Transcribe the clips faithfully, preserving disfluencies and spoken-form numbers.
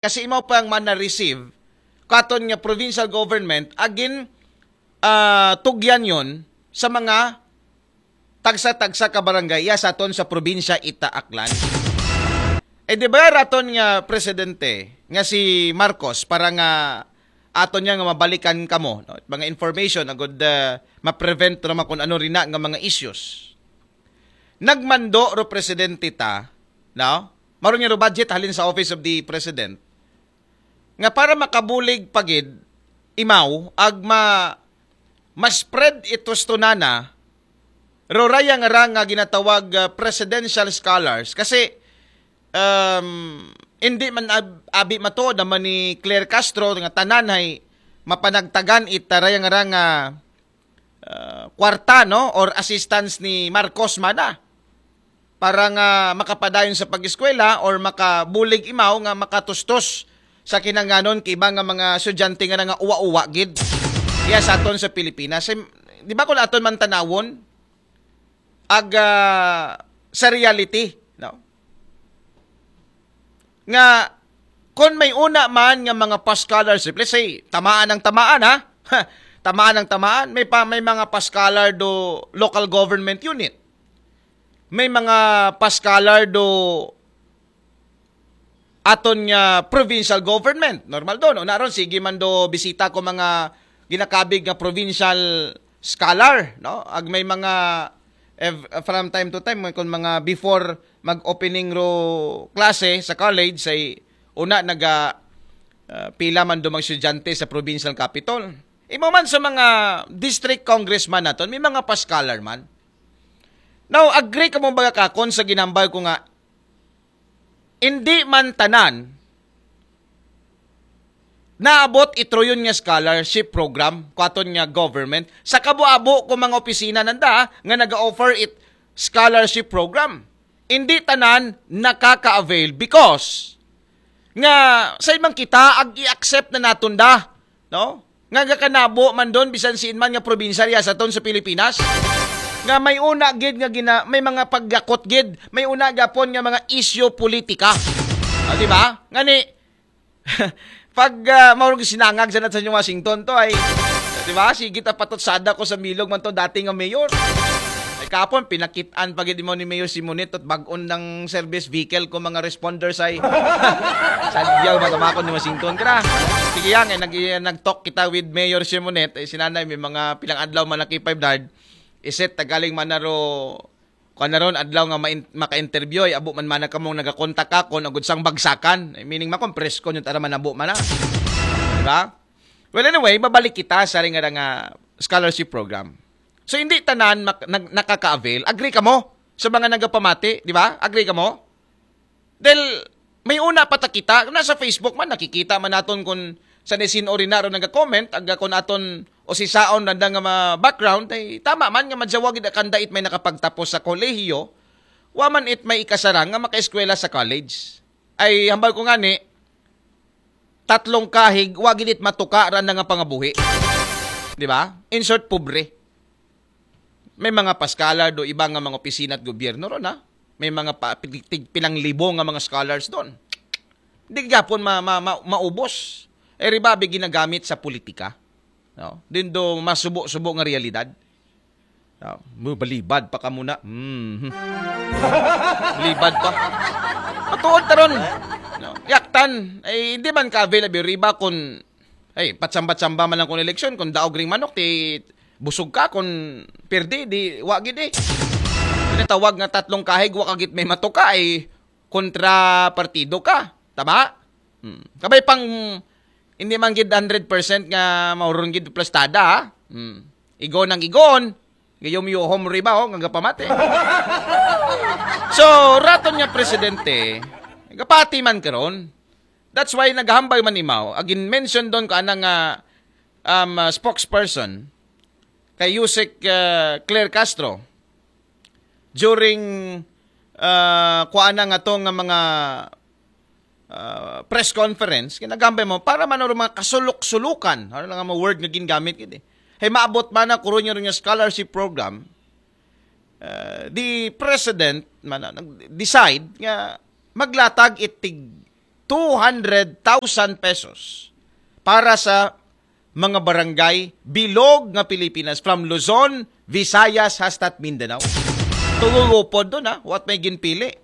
Kasi imaw pa ang mana receive katon nga provincial government agin ah, tugyan yon sa mga tagsa-tagsa ka barangay iya sa aton sa probinsya ita Aklan. Eh, di ba raton nga presidente nga si Marcos para nga aton niya nga mabalikan kamo, no? Mga information agud uh, ma-prevent naman kung ano rina nga mga issues. Nagmando ro presidente ta, no? Maron niya ro budget halin sa Office of the President nga para makabulig pagid imaw ag ma ma-spread ito tunana ro raya nga ra nga ginatawag uh, presidential scholars kasi um, hindi man ab- abi mato naman ni Claire Castro nga tanan hay mapanagtagan ita raya nga ra nga uh, kwarta no or assistance ni Marcos mana para nga makapadayon sa pag-eskwela or makabulig imaw nga makatustos sa kinanganon kay iba nga mga estudyante nga nga uwa-uwa gid iya sa aton sa Pilipinas. Di ba kung aton man tanawon ag uh, sa reality, no? Nga kung may una man nga mga pa-scholarship, let's say, tamaan ang tamaan ha, tamaan ang tamaan, may pa may mga pa-scholar do local government unit. May mga pa-scholar do aton nga provincial government. Normal do, no? Naron sige man do bisita ko mga ginakabig nga provincial scholar, no? Ag may mga ev- from time to time kung mga before mag-opening ro klase sa college say una naga uh, pila man do mga estudyante sa provincial capitol. Imo man sa mga district congressman naton, may mga pa-scholar man. Now, agree ka mo baga kakon sa ginambal ko nga hindi man tanan naabot itroyon nga scholarship program kwaton nga government sa kabo-abo ko mga opisina nanda nga naga-offer it scholarship program. Hindi tanan nakaka-avail because nga sa ibang kita ag i-accept na naton da, no? Nga gakanabo man don bisan siin man nga probinsya riya sa ton sa Pilipinas nga may una gid nga gina, may mga paggakot gid, may una gapon nga mga isyu politika. Ah, di ba? Ngani pag uh, maurog sinangag sa sa Washington to ay di ba? Sige ta patot sada ko sa milog man to dati nga mayor. Ay kapon pinakitaan pa gid mo ni Mayor Simonet at bag-on ng service vehicle ko mga responders ay sadyaw matamakon ni Washington kra. Sige yan, eh, nag nag-talk kita with Mayor Simonet, eh, sinanay may mga pilang adlaw man naki five dard. Iset tagaling man naro kuan na ron adlaw nga ma- maka-interview ay abo man mana kamong nagakontak ako na gud sang bagsakan. Eh, meaning makon presko nyo tara manabo man na. Di ba? Well, anyway, babalik kita sa ring nga scholarship program. So, hindi tanan mak- nag- nakaka-avail. Agree ka mo sa mga nagapamati, di ba? Agree ka mo? Dahil may una pa ta kita, nasa Facebook man, nakikita man naton kung sa sin-o rin na ron nagka-comment, aga kung aton o si saon na nga mga background, ay tama man nga madyawa gid kanda it may nakapagtapos sa kolehiyo, wa man it may ikasarang nga makaeskwela sa college. Ay hambal ko nga ni, tatlong kahig, wa gid it matuka ra na nga pangabuhi. Di ba? In short, pobre. May mga pa-scholar do iba nga mga opisina at gobyerno ron ha. May mga pa, tig, tig, pilang libo nga mga scholars doon. Di gapon ma, ma, ma, maubos. Eh, ribabi ginagamit sa politika. No? Din do masubo-subo nga realidad. No? Mu- Balibad pa ka muna. Mm. Balibad pa. Matuod taron. No? Yaktan. Ay, hindi man ka available. Riba kung, ay, patsamba-tsamba man lang kung eleksyon. Kung daog ring manok, ti busog ka. Kung pirdi, di wagid eh. Tinatawag nga tatlong kahig, wakagit may matuka, ay kontra partido ka. Tama? Hmm. Kabay pang hindi man gid hundred percent nga mauron gid plastada, ha? Hmm. Igon ang igon, gayom yuhom riba, oh, nga gapamati. So, raton nga presidente, gapati man karon. That's why naghambay man imaw. Agin mention doon ko anang uh, um, uh, spokesperson kay Yusek uh, Claire Castro during uh, kuana nga to nga mga uh, press conference, ginagambay mo para man mga kasulok-sulukan. Ano lang ang mga word nga ginagamit gid eh. Hey, maabot man na kuron yung scholarship program, uh, the president man nag-decide nga maglatag itig two hundred thousand pesos para sa mga barangay bilog nga Pilipinas, from Luzon, Visayas, hasta't Mindanao. Tugulupod doon, ha, what may ginpili.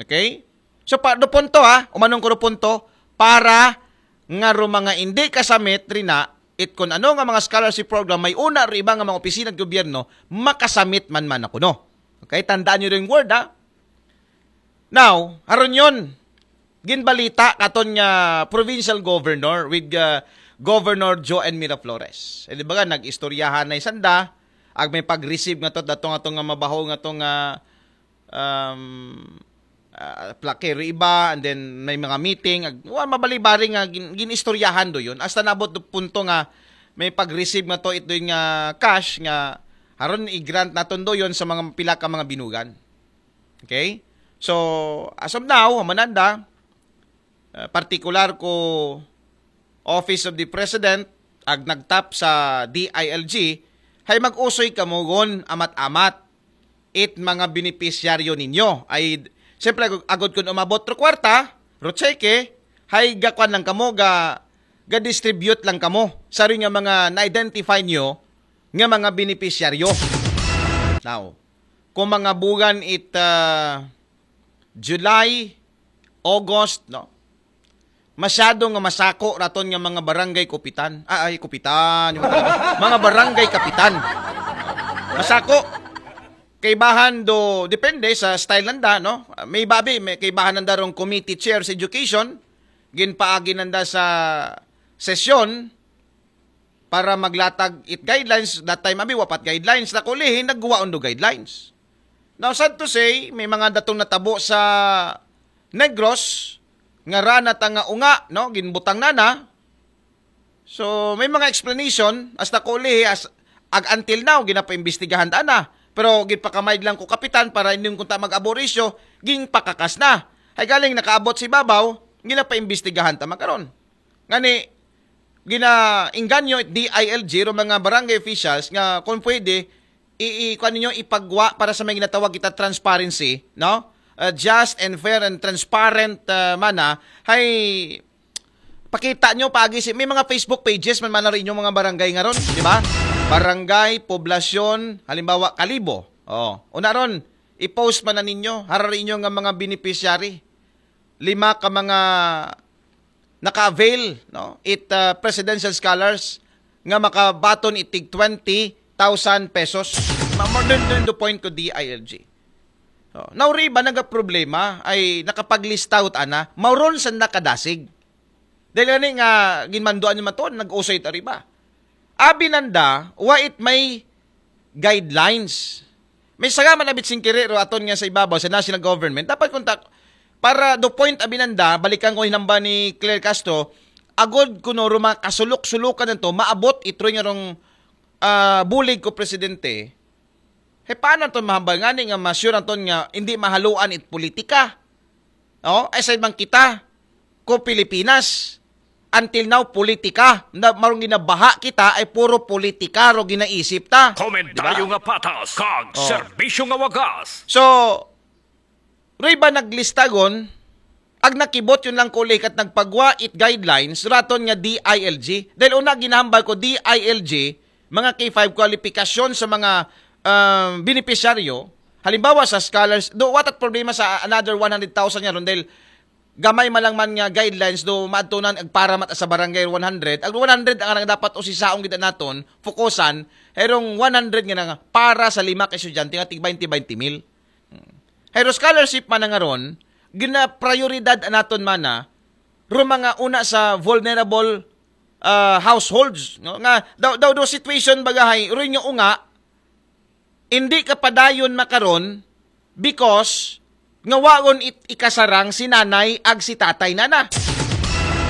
Okay? So, pa, do punto, ha, umanong ko do punto, para nga ro mga hindi kasamit rin na, it kun ano nga mga scholarship program, may una ro iba nga mga opisina at gobyerno, makasamit man man ako, no? Okay? Tandaan nyo rin word, ha? Now, aron yun, ginbalita katon nga provincial governor with uh, Governor Joe N. Miraflores. Eh, di ba nga, nag-istoryahan na isanda, ag may pag-receive nga to, datong atong nga mabaho nga to nga um, uh, plakero iba, and then may mga meeting, ag, wa, mabali-bari nga gin, gin-istoryahan do yun. Hasta nabot do punto nga may pag-receive nga to ito nga cash nga haron i-grant naton do yun sa mga pila ka mga binugan. Okay? So, as of now, hamananda, uh, partikular ko Office of the President, ag nagtap sa D I L G, hay mag-usoy kamo gon amat-amat it mga benepisyaryo ninyo. Ay, siyempre, agod, agod kun umabot ro kwarta, ro cheque, hay gakuan lang kamo, ga, ga-distribute lang kamo. Sa rin nga mga na-identify nyo nga mga benepisyaryo. Now, kung mga bugan it uh, July, August, no? Masyado nga masako raton nga mga barangay kupitan. Ah, ay, kupitan. Yung mga, mga barangay kapitan. Masako. Kaibahan do, depende sa style nanda, no? May babi, may kaibahan nanda rong committee chair sa education. Ginpaagi nanda sa sesyon para maglatag it guidelines. That time, abi, wapat guidelines. Na kulihin, nagguwaon do guidelines. Now, sad to say, may mga datong natabo sa Negros, nga rana ta nga unga, no? Ginbutang na na. So, may mga explanation, hasta kulihi, as, ag until now, ginapaimbestigahan ta na. Pero ginpakamaid lang ko kapitan para hindi kunta mag-aborisyo, ginpakakas na. Hay galing nakaabot si babaw, ginapaimbestigahan ta makaron. Ngani, ginaingganyo it D I L G, ro mga barangay officials, nga kung pwede, i, i kuan ninyo, ipagwa para sa may ginatawag kita transparency, no? Uh, just and fair and transparent uh, mana, hay pakita nyo paagi si may mga Facebook pages man mana rin yung mga barangay nga ron, di ba? Barangay, poblasyon, halimbawa Kalibo. Oh, una ron, i-post man na ninyo, hararin nyo nga mga beneficiary. Lima ka mga naka-avail, no? It uh, presidential scholars nga makabaton itig twenty thousand pesos. Ma- More than, than the point ko D I L G. Oh, nauri ba nagaproblema ay nakapaglista ut ana, mauron sa nakadasig. Dahil ani nga ginmanduan yung matuon, nag-usay ta riba. Abi nanda, wa it may guidelines. May saga man abit singkiri ro aton nga sa ibabaw sa national government. Dapat kontak para do point abi nanda, balikan ko hinamba ni Claire Castro, agod kuno ro mga kasulok-sulukan nito, maabot ito nga rong ah, bulig ko presidente. He paano to mahambal ngani nga ma-sure anton nga hindi mahaluan it politika? Oh, ay sa man kita ko Pilipinas. Until now, politika. Na, marong ginabaha kita ay puro politika ro ginaisip ta. Komentaryo nga patas, kag serbisyo nga wagas. So, ri ba naglistagon, ag nakibot yun lang kulikat nagpagwa it guidelines, raton nga D I L G. Dahil una, ginahambal ko D I L G, mga K five qualification sa mga um, beneficiaryo, halimbawa sa scholars, do, what at problema sa another one hundred thousand nga ron, dahil gamay man lang man nga guidelines do maadtunan ag para mat sa barangay one hundred, ag one hundred ang dapat usisaon kita naton, fokusan, herong one hundred nga nga para sa lima ka estudyante nga tig twenty twenty mil. Hero scholarship man nga ron, gina-prioridad naton mana ro mga una sa vulnerable uh, households, no? Nga daw daw do situation bagahay ro nga unga, hindi ka padayon makaron because nga wagon it ikasarang si nanay ag si tatay na na.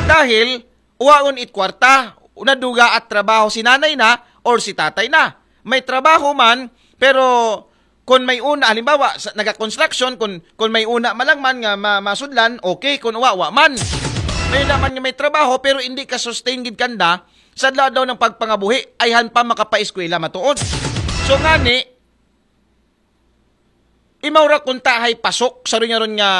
Dahil wagon it kwarta, naduga at trabaho si nanay na or si tatay na. May trabaho man, pero kung may una, halimbawa, sa, naga-construction, kung, kung may una malangman nga ma, masudlan, okay, kung wa, wa man. May naman nga may trabaho, pero hindi ka sustain gid kanda sa adlaw ng pagpangabuhi, ayhan pa makapaeskwela matuod. So ngani, imaw ra kunta hay pasok sa ron nga ron nga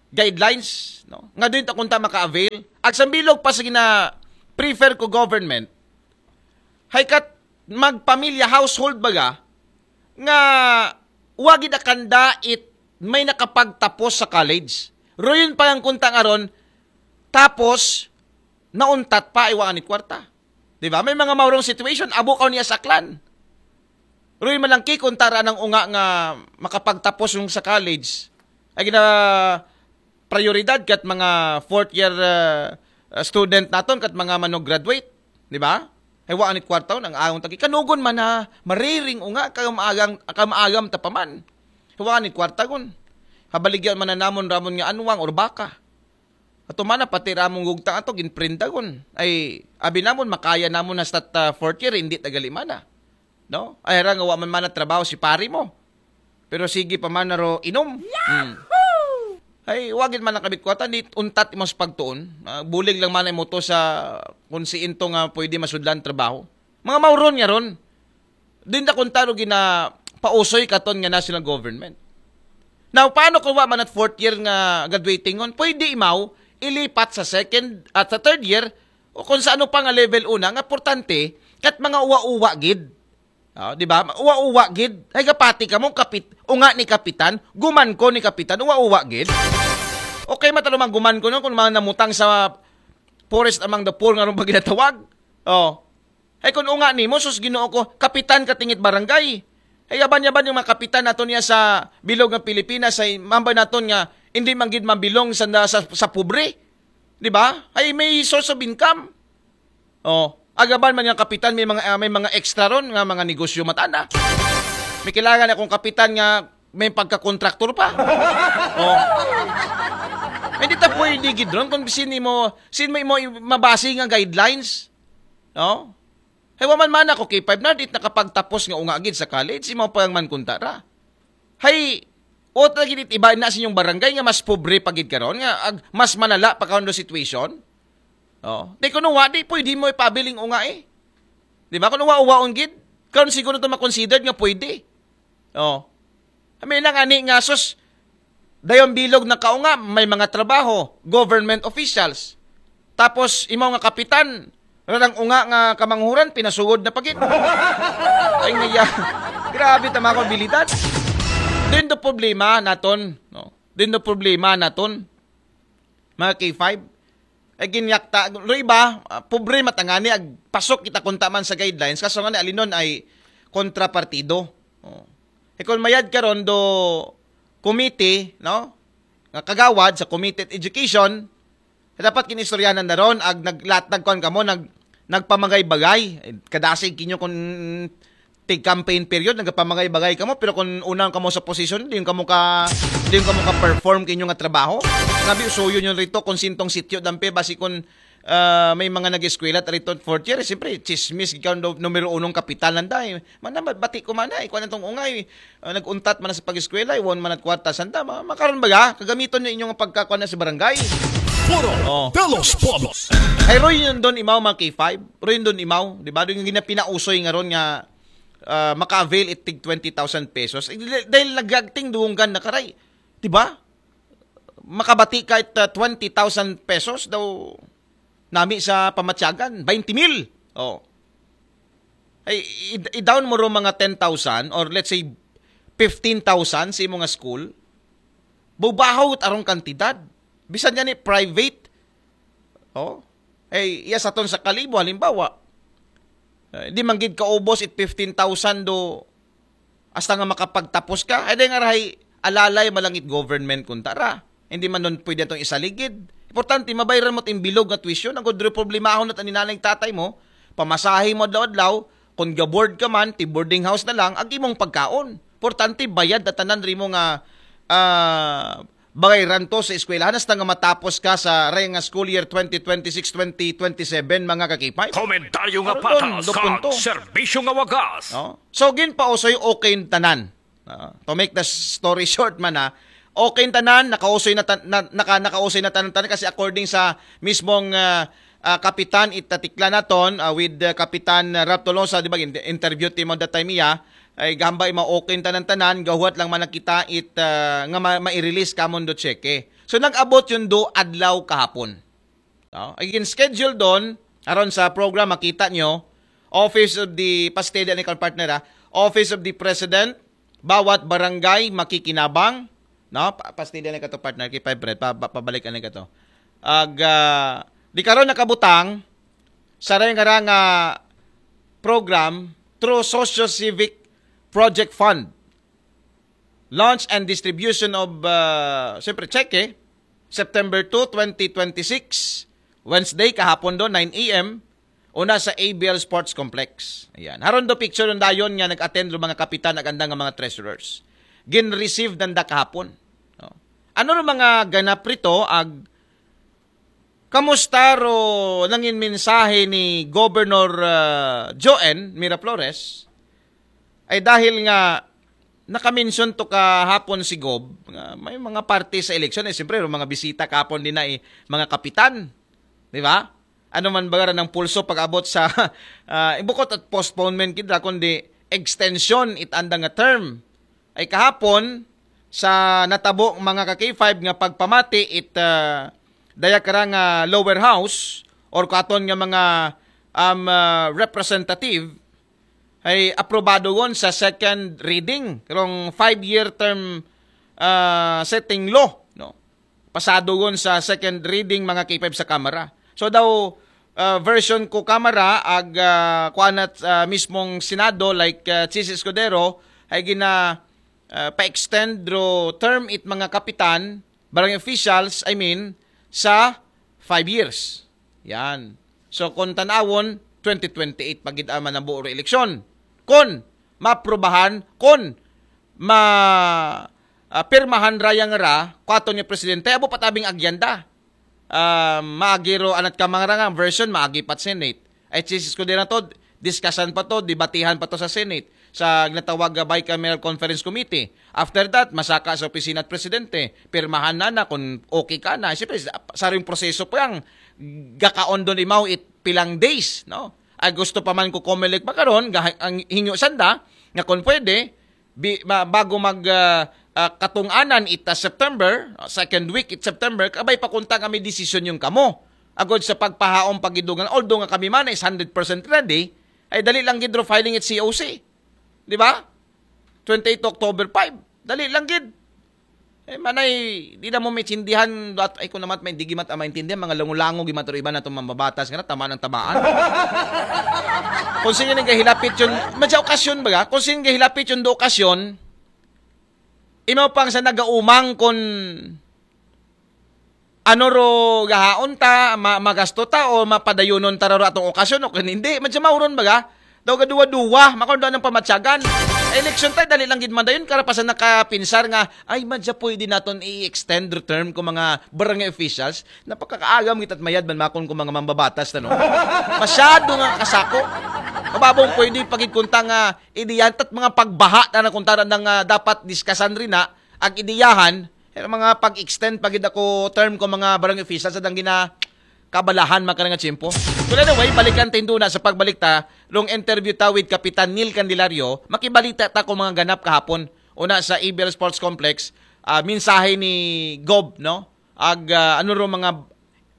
guidelines, no? Nga diri ta kunta maka-avail. Ag sambilog pa sa gina-prefer ko government, hay kat magpamilya, household baga, nga wa gid akanda it may nakapagtapos sa college. Ruyon pa lang kunta nga ron, tapos nauntat pa, ay wa anit kwarta. Di ba? May mga maurong situation, abo ka niya sa clan. Ruy malangki kung tara ng unga nga makapagtapos yung sa college. Ay gina prioridad kat mga fourth year uh, uh, student naton, kat mga mano-graduate. Di ba? Ay wa anit kwarta ang ayon tagi. Kanugon man na mariring unga, kamaagam, kamaagam tapaman. Ay wa anit kwarta gun. Habaligyan man na namon ramon nga anwang or baka. Ato man na pati ramong gugtang ato, ginprinda gun. Ay, abi namon, makaya namon na sa uh, fourth year, hindi tagali man na. No? Ay, ra nga wa man man na trabaho si pari mo. Pero sige pa man na ro inom. Hmm. Ay, wagin man ang kabit kwata, di untat imong sa pagtuon. Ah, bulig lang man mo to sa kung si into nga pwede masudlan trabaho. Mga mauron nga ron. Din da kontaro gina pausoy katon nga national government. Now, paano kung wa man at fourth year nga graduating on? Pwede imaw ilipat sa second at sa third year o kung sa ano pa nga level una nga importante kat mga uwa-uwa gid. Ah, di ba? Uwa-uwa gid. Ay gapati ka mo kapit unga ni kapitan, guman ko ni kapitan, uwa-uwa gid. Okay, matalo man guman ko no kung mga namutang sa forest among the poor nga ron pag ginatawag. Oh. Ay kung unga nimo, sus Ginoo ko, kapitan ka tingit barangay. Ay yaban-yaban yung mga kapitan nato niya sa bilog ng Pilipinas, ay mambay naton nga hindi man gid mabilong sa, sa, sa pobre. Di ba? Ay may source of income. Oh, agaban man nga kapitan, may mga ah, may mga extra ron nga mga negosyo matana. May kailangan akong kapitan nga may pagka-contractor pa. Oh. Hindi ta pwede gid ron kung sino mo, sino mo, mo mabase nga guidelines. No? Hay wa man man ako K five na dit nakapagtapos nga unga gid sa college, imo pa man kuntara. Hay, o ta gid it iba na sa inyong barangay nga mas pobre pa gid karon nga ag, mas malala pa karon do situation. Oh, di kuno wa di pwede mo ipabiling unga eh. Di ba? Kuno wa uwaon gid. Karon siguro to makonsidered nga pwede. Oh. Kami lang ani nga sus dayon bilog na kaunga, may mga trabaho, government officials. Tapos imaw nga kapitan, rarang unga nga kamanghuran pinasugod na pagid. Ay nga ya. Grabe tama ko abilidad. Din do problema naton, no. Din do problema naton. Mga K five. Ay ginyakta, lo iba, ah, pobre matangani ag pasok kita kunta man sa guidelines kaso nga alinon ay kontrapartido. Oh. E kung mayad karon do committee, no? Nga kagawad sa Committee on Education, dapat kinistoryahan na ron ag naglatag kuan kamo nag nagpamagay-bagay. Eh, kadasig kinyo kung tig campaign period nagpamagay-bagay kamo pero kung unang kamo sa posisyon din kamo ka din kamo ka perform kinyo nga trabaho. Nabi usuyo nyo rito kung sintong sityo dampe basi kung ah, may mga nag-eskwela at rito fourth year, siyempre, chismis ikaw do, numero unong kapital nanda. Eh. Mana bati ko man ay, kuan tong ungay. Ah, nag-untat man sa pag-eskwela, iwan man at kwarta sanda. Ma makaron ba ga? Kagamiton na inyong pagkakuan na sa barangay. Puro Oh. Pelos Pobos. Ay, Roy yun doon imaw, mga K five. Roy yun doon imaw. Di ba? Doon yung ginapinausoy nga ron nga ah, maka-avail it tig twenty thousand pesos. Eh, dahil nagagting duwanggan na karay. Di ba? Makabati ka it ah, twenty thousand pesos daw nami sa pamatyagan. Twenty mil. Oh. Ay, i- i-down mo ro mga ten thousand or let's say fifteen thousand sa imo nga school. Bubahaw it arong kantidad. Bisan nga ni private. Oh. Ay, iya sa ton sa kalibo, halimbawa. Eh, di man gid kaubos it fifteen thousand do hasta nga makapagtapos ka. Ay, di nga rahay alalay malangit government kuntara. Hindi man nun pwede itong isaligid. Importante, mabayran mo it imbilog nga tuition. Ang kudro problemahon at aninanay tatay mo, pamasahe mo adlaw-adlaw, kung ga-board ka man, ti boarding house na lang, ag imong pagkaon. Importante, bayad na tanan rimo nga ah, bagay ranto sa eskwelahan hasta nga matapos ka sa raya nga school year twenty twenty-six twenty twenty-seven, mga kakipay. Komentaryo nga Aron patas, do punto. Serbisyo nga wagas. No? So, ginpausoy okay tanan. Ah, to make the story short man ha, okay tanan, nakausoy na, tan- na naka, nakausoy na tanan tanan kasi according sa mismong ah, ah, kapitan itatikla naton ah, with ah, Kapitan Rap Tolosa, di ba, in- interview timo that time iya, ay gamba ima okay tanan tanan, gahuwat lang man nakita it ah, nga ma- mai-release kamon do cheque. So nag-abot yun do adlaw kahapon. No? Again, schedule doon, aron sa program, makita nyo, Office of the, pastede ni partner ha, Office of the President, bawat barangay makikinabang, no? Pa, pastede ni kato partner, kay five red, pa, pa, pabalik ni kato. Ag, ah, di karon nakabutang, sa nga nga program through Socio-Civic Project Fund. Launch and distribution of, uh, siyempre, cheque, September two, twenty twenty-six, Wednesday, kahapon do, nine a m, una sa A B L Sports Complex. Ayan. Haron do picture ng dayon nga nag-attend do mga kapitan ag andang nga mga treasurers. Gin-receive nanda kahapon. No? Ano ro mga ganap rito ag kamusta ro nangin mensahe ni Governor, ah, Joen Miraflores? Ay dahil nga naka-mention to kahapon si Gob nga may mga parte sa eleksyon, eh, siyempre, mga bisita kahapon din na, eh, mga kapitan. Di ba? Ano man ba ng pulso pag-abot sa, ah, bukod at postponement kita, kundi extension it andang nga term. Ay kahapon, sa natabo mga ka-K five nga pagpamati it, ah, daya kara nga lower house or katon nga mga, um, ah, representative, ay aprobado gon sa second reading karong five-year term, ah, setting law, no? Pasado gon sa second reading mga K five sa Kamara. So daw, ah, version ko Kamara ag, ah, kuan at, ah, mismong Senado, like, ah, Chiz Escudero, ay gina, ah, pa-extend ro term it mga kapitan, barangay officials, I mean, sa five years. Yan. So kung tanawon, twenty twenty-eight pa gid ang manabo ro eleksyon. Kun maprobahan, kun ma, ah, pirmahan ra yang ra, kuaton nga presidente, abo patabing agyenda. Ah, maagi ro anat ka mga nga version, maagi pat Senate. Ay, Chiz Escudero na to, discussion pa to, debatihan pa to sa Senate, sa ginatawag nga Bicameral Conference Committee. After that, masaka sa opisina at presidente, pirmahan na na kung okay ka na. Siyempre, sa, sa ring proseso po yang gakaon doon imaw it pilang days, no? Ay gusto pa man ko Comelec makaron, ang hinyo sanda, nga kung pwede, bi, ma, bago mag, ah, ah, katunganan ita September, ah, second week it September, kabay pa kunta kami desisyon yung kamo. Agod sa pagpahaom pagidugan, although nga kami man is hundred percent ready, ay dali lang gid ro filing it C O C. Di ba? Twenty-eight October five. Dali lang gid. Eh, manay, di na mo maintindihan, at, ay, kung naman, may, di gimat, ah, maintindihan, mga lango-lango, gimat, ro iba na itong mambabatas, nga na, tama ng tamaan. Kung sino nga hilapit yun, madya okasyon ba ga? Kung sino nga hilapit yun do okasyon, imaw pang sa nagaumang kung ano ro gahaon ta, ma, magasto ta, o mapadayunon ta ro atong okasyon, o kung hindi, madya mauron ba ga? Daw gaduwa-duwa, makon daw ng pamatyagan. Election tayo, dali lang gid man dayon, karapasan nakapinsar nga, ay, madya pwede naton i-extend ro term ko mga barangay officials. Napakakaagam kita at mayad man makon ko mga mambabatas na, no? Masyado nga kasako. Mababong pwede pagid kunta nga idiyan, tat mga pagbaha na na kunta nga dapat diskasan rin na, ag idiyahan, eh, mga pag-extend pagid ako term ko mga barangay officials sa dang gina, kabalahan makarang nga tiyempo. Well, anyway, balikan ta indo na sa pagbalik ta, rong interview ta with Kapitan Neil Candelario, makibalita ta ko mga ganap kahapon, una sa A B L Sports Complex, ah, mensahe ni Gob, no? Ag, ah, ano ro mga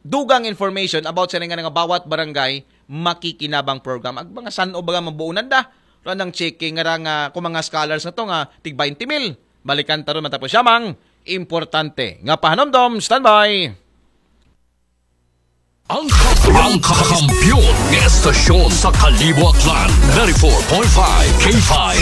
dugang information about sa nga nga bawat barangay makikinabang program. Ag mga san-o ba nga mabuunan da? Ro nang checking nga ra nga kung mga scholars na to nga tig twenty mil. Balikan ta ron matapos yamang importante nga pahanomdom. Standby! Ang, ang kakampiyon nga estasyon sa Kalibo Aklan, ninety-four point five K five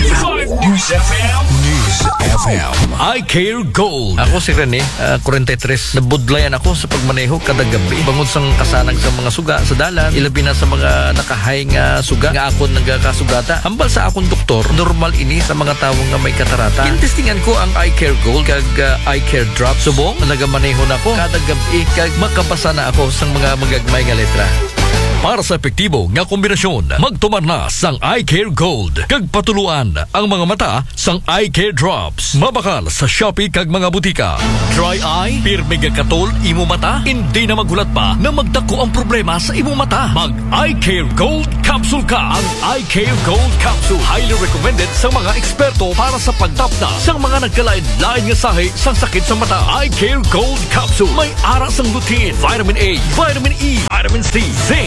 News F M. News F M. I Care Gold. Ako si Rene, ah, forty-three. Nabudlayan ako sa pagmaneho kada gabi. Bangod sa kasanag sa mga suga sa dalan, ilabi na sa mga nakahay nga suga nga akon nagakasugata. Hambal sa akong doktor, normal ini sa mga tawo nga may katarata. Gintestingan ko ang Eye Care Gold kag, ah, Eye Care Drop. Subong, nagamaneho na ko kada gabi kag makabasa na ako sa mga magagmay nga letra. Para sa epektibo nga kombinasyon, magtumar na sang Eye Care Gold kag patuluan ang mga mata sang Eye Care Drops. Mabakal sa Shopee kag mga butika. Dry eye, pirmi nga katol imo mata, hindi na maghulat pa na magdako ang problema sa imo mata. Mag Eye Care Gold Capsule ka. Ang Eye Care Gold Capsule highly recommended sa mga eksperto para sa pagtapna sa mga nagkalain-lain nga sahi sang sakit sa mata. Eye Care Gold Capsule may ara sang lutein, vitamin A, vitamin E, vitamin C, zinc,